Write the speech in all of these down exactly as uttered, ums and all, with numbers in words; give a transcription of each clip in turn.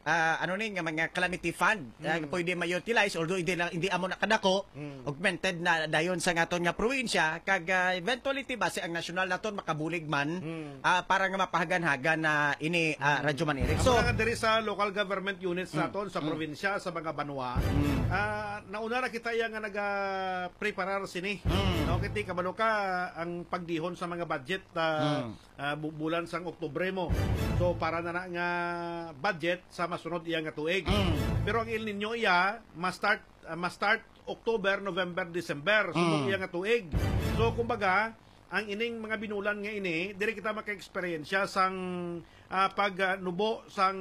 ah, ano ni, nga mga calamity fund, ah, Mm. pwede ma-utilize, although hindi lang, hindi amo na kadako, Mm. augmented na dayon sa aton nga probinsya, kag, ah, eventually, ti, basi ang nasyonal naton makabulig man, Mm. ah, para nga mapahagan-hagan na ini, ah, Mm. Radyo Man Eric. Amo So, na nga diri sa local government units Mm. naton sa Mm. probinsya, sa mga banwa, Mm. ah, nauna na kita iya nga naga-preparar sini. Mm. No, kay ti, kabalo ka, ang pagdihon sa mga budget, ah, Mm. ah, bu-, bulan sang Oktubre mo. So, para na na nga budget sa masunod iya nga tuig. Mm. Pero ang El Niño iya, ma-start, ah, ma-start October, November, December, subong Mm. iya nga tuig. So, kumbaga, ang ining mga binulan nga ini, diri kita maka-eksperyensya sang, ah, pag, ah, nubo sang,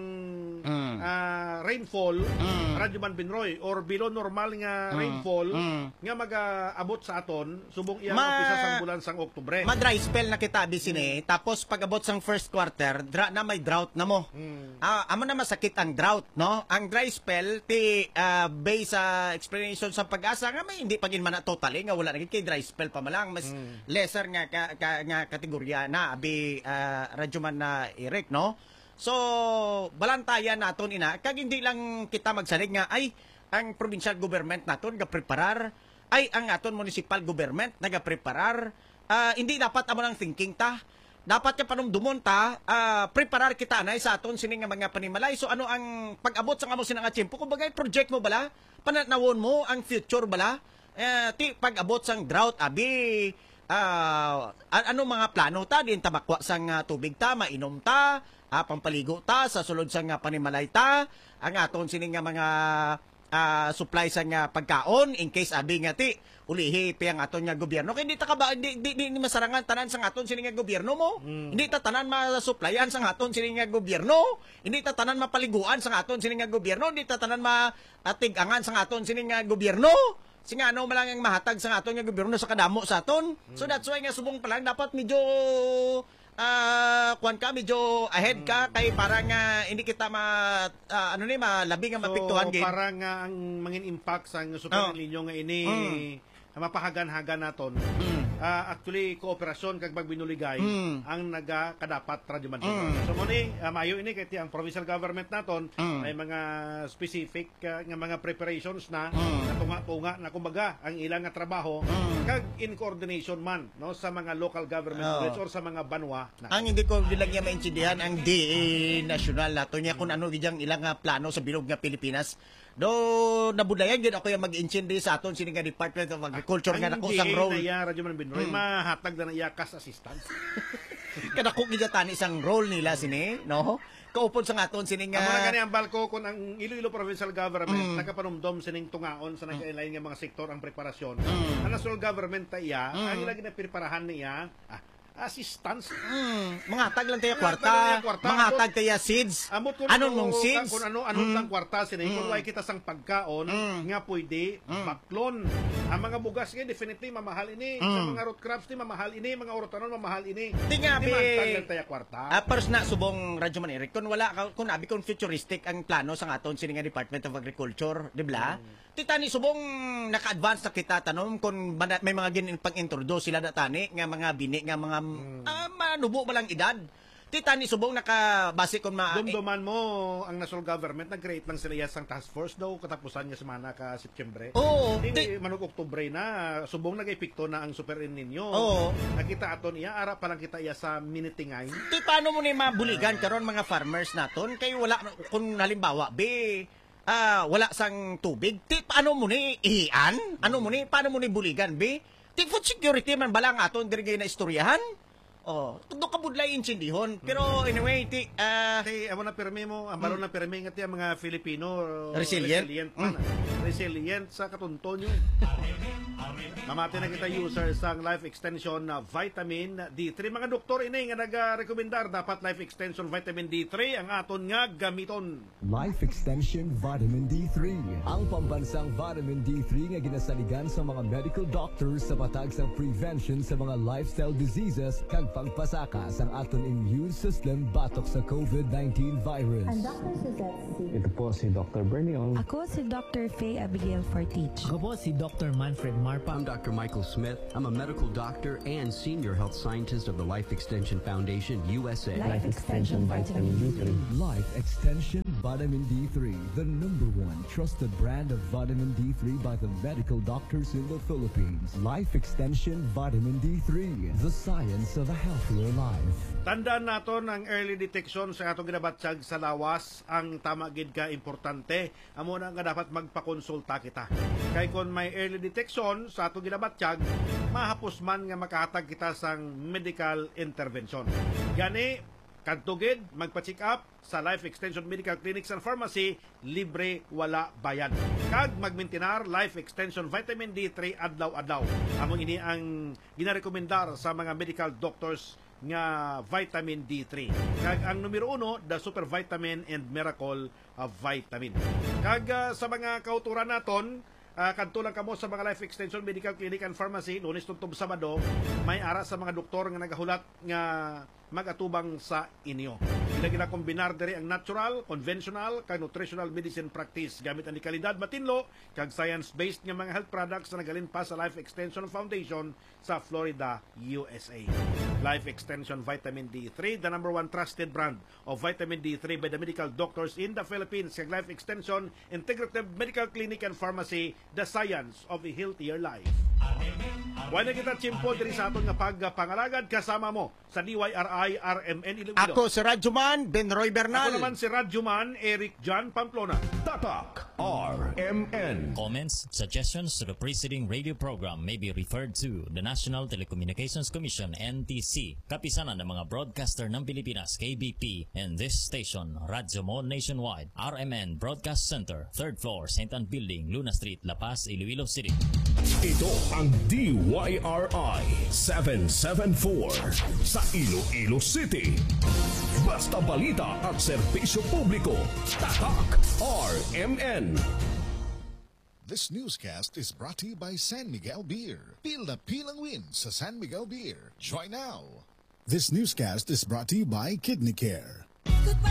Mm. ah, rainfall, Mm. Radyo Man Binroy, or below normal nga Mm. rainfall, Mm. nga mag-aabot sa aton, subong iya Ma-, umpisa sang bulan sang Oktubre. Ma-dry spell na kita, abi sini. Mm. Tapos, pag-abot sang first quarter, dra na may drought na mo. Mm. Ah, amo na masakit ang drought, no? Ang dry spell, ti, ah, based sa explanation sa PAGASA, nga may hindi pa gid man na totally, nga wala na gid kay dry spell pa man lang, mas Mm. lesser nga ka, ka, nga kategorya na, abi, ah, Radyo Man na Eric, no? So, balantayan naton ina, kag hindi lang kita magsalig nga, ay, ang provincial government naton gapreparar, ay, ang aton municipal government nagapreparar. Ah, hindi dapat amo ang thinking ta. Dapat nga panumdumon ta, ah, preparar kita anay sa aton sini nga mga panimalay. So, ano ang pag-abot sa amo sina nga tiyempo? Kumbaga, project mo bala? Panatnawon mo ang future bala? Eh, ti, pag-abot sang drought, abi, ah, an-, ano mga plano ta? Diin ta makwa sang, ah, tubig ta, mainom ta, ah, pampaligo ta, sa sulod sang, ah, panimalay ta, ang aton sini nga mga, ah, supply sang, ah, pagkaon, in case abi nga ti, ulihi pa ang aton nga gobyerno. Kay di ta ka ba, di, di, di, di masarangan tanan sang aton sini nga gobyerno mo. Mm. Hindi ta tanan masupplyan sang aton sini nga gobyerno. Hindi ta tanan mapaliguan sang aton sini nga gobyerno. Hindi ta tanan ma-, atig-angan sang aton sini nga gobyerno. Sing ano man lang ang mahatag sa aton nga gobyerno sa kadamo sa aton. So, Mm. that's why nga subong pa lang dapat medyo, ah, kuwan ka, medyo ahead ka, Mm. kay para nga hindi kita ma-, ah, ano ni, malabi nga So, mapiktuhan gid. Para nga ang mangin impact sa super Oh. El Nino nga ini, Mm. mapahagan-hagan naton. Mm. Ah, actually, kooperasyon kag pagbinuligay Mm. ang nagakadapat, Radyo Man. Mm. So, mo ni, ah, maayo ini kay ti ang provincial government naton Mm. may mga specific, ah, nga mga preparations na, Mm. na tunga-tunga na, kumbaga, ang ilang nga trabaho Mm. kag in coordination man, no, sa mga local government Oh. units or sa mga banwa na. Ang hindi ko gid lang niya maintindihan ang D A nasyonal nato niya kung ano gid ang ilang nga plano sa bilog nga Pilipinas. Do nabudlayan gid ako yung mag-intindi sa aton sini nga Department of Agriculture nga Ang dako sang D A role. Na iya, Radyo Man Binroy, Mm. mahatag na na iya cash assistance. Kadako gid tani sang role nila sini, no? Kaupod sa aton sini nga Amo na gani ang balko kung ang Iloilo Provincial Government Mm. nakapanumdom sining tungaon sa Mm. nagkailain nga mga sektor ang preparasyon. Mm. Ang national government ta iya, Mm. ang ila ginapreparahan niya, ah, assistance. Mm, mangatag lang tayo Mangatag kwarta, lang tayo kwarta. Mangatag tayo seeds. Ambot kung Anong ano, nung seeds? Kung ano, anong Mm. tang kwarta sini, kung Mm. way kita sang pagkaon Mm. nga pwede Mm. baklon. Ang mga bugas nga definitely mamahal ini. Sa Mm. mga root crops ni mamahal ini, mga urotanon mamahal ini. Di nga, Di be, man tag lang tayo kwarta. Ah, first na subong Radyo Man Eric, kung wala ka, kung abi kung futuristic ang plano sa aton sini nga Department of Agriculture, di ba? Mm. Ti tani subong naka-advance na kita tanom kung mana-, may mga gin-, pang-introduce sila na tani nga mga bini nga mga, Mm. ah, manubo ba lang edad. Ti tani subong nakabase kung ma- Dumduman mo ang national government, nag-create lang sila iya sang task force daw katapusan nga semana ka Setyembre. Oo, Di, ti- manug Oktubre na, subong nag-epekto na ang Super El Nino. Oo. Nakita aton iya, ara pa lang kita iya sa minitingay. Ti paano mo ni mabuligan Ah. karon mga farmers naton kay wala kung halimbawa bi ah, wala sang tubig. Ti, paano mo ni ihian? Ano mo ni, paano mo ni buligan, bi? Ti, food security man bala ang aton diri nga naistoryahan? Oh, tudo ka budlay intindihon. Pero anyway, ti, ah, Ti, amo na pirmi mo, ang baro Mm. na pirmi nga ti ang mga Filipino, Resilient? resilient man. Mm. Resilient sa katunton yun. Mamati na kita user sang Life Extension na Vitamin D three. Mga doktor ini nga nagarekomendar, dapat Life Extension Vitamin D three ang aton nga gamiton. Life Extension Vitamin D three. Ang pambansang Vitamin D three nga ginasaligan sa mga medical doctors sa patag sa prevention sa mga lifestyle diseases kag pagpasaka sang aton immune system batok sa COVID nineteen virus. I'm Doctor Suzette C. Ito po si Doctor Bernie Ong. Ako si Doctor Faye Abigail Fortich. Ako po si Doctor Manfred Marpa. I'm Doctor Michael Smith. I'm a medical doctor and senior health scientist of the Life Extension Foundation, U S A. Life Extension Vitamin D three. Life Extension Vitamin D three, the number one trusted brand of vitamin D three by the medical doctors in the Philippines. Life Extension Vitamin D three, the science of a healthier life. Tandaan naton ang early detection sa atong ginabatyag sa lawas ang tama gid ka importante. Amo na nga dapat magpakonsulta kita. Kay kon may early detection sa atong ginabatyag, mahapos man nga makahatag kita sang medical intervention. Gani, kadto gid magpa-check up sa Life Extension Medical Clinics and Pharmacy, libre, wala bayad. Kag magmintinar Life Extension Vitamin D three adlaw-adlaw. Amo ini ang ginarekomendar sa mga medical doctors nga vitamin D three. Kag ang numero uno, the Super Vitamin and Miracle, ah, Vitamin. Kag, ah, sa mga kauturan naton, ah, kadto lang kamo sa mga Life Extension Medical Clinic and Pharmacy, Lunes tubtob Sabado, may ara sa mga doktor nga nagahulat nga mag-atubang sa inyo. Ila ginakombinar diri ang natural, conventional, kag nutritional medicine practice gamit ang dekalidad, matinlo, kag science-based nga mga health products na nagahalin pa sa Life Extension Foundation sa Florida, U S A. Life Extension Vitamin D three, the number one trusted brand of vitamin D three by the medical doctors in the Philippines, kag Life Extension Integrative Medical Clinic and Pharmacy, the science of a healthier life. Wala kita tiyempo diri sa aton nga pagpangalagad, kasama mo sa D Y R I R M N Iloilo. Ako si Radyoman Ben Roy Bernal. Ako naman si Radyoman Eric John Pamplona. Tatak R M N. Comments, suggestions to the preceding radio program may be referred to the National Telecommunications Commission, N T C, Kapisanan ng mga Broadcaster ng Pilipinas, K B P, and this station, Radyo Mo Nationwide, R M N Broadcast Center, third floor, Saint Ann Building, Luna Street, La Paz, Iloilo City. Ito ang D Y R I seven seven four sa Iloilo City. Basta balita at serbisyo publiko, Tatak R M N. This newscast is brought to you by San Miguel Beer. Pil na pil ang win sa San Miguel Beer. Try now. This newscast is brought to you by Kidney Care.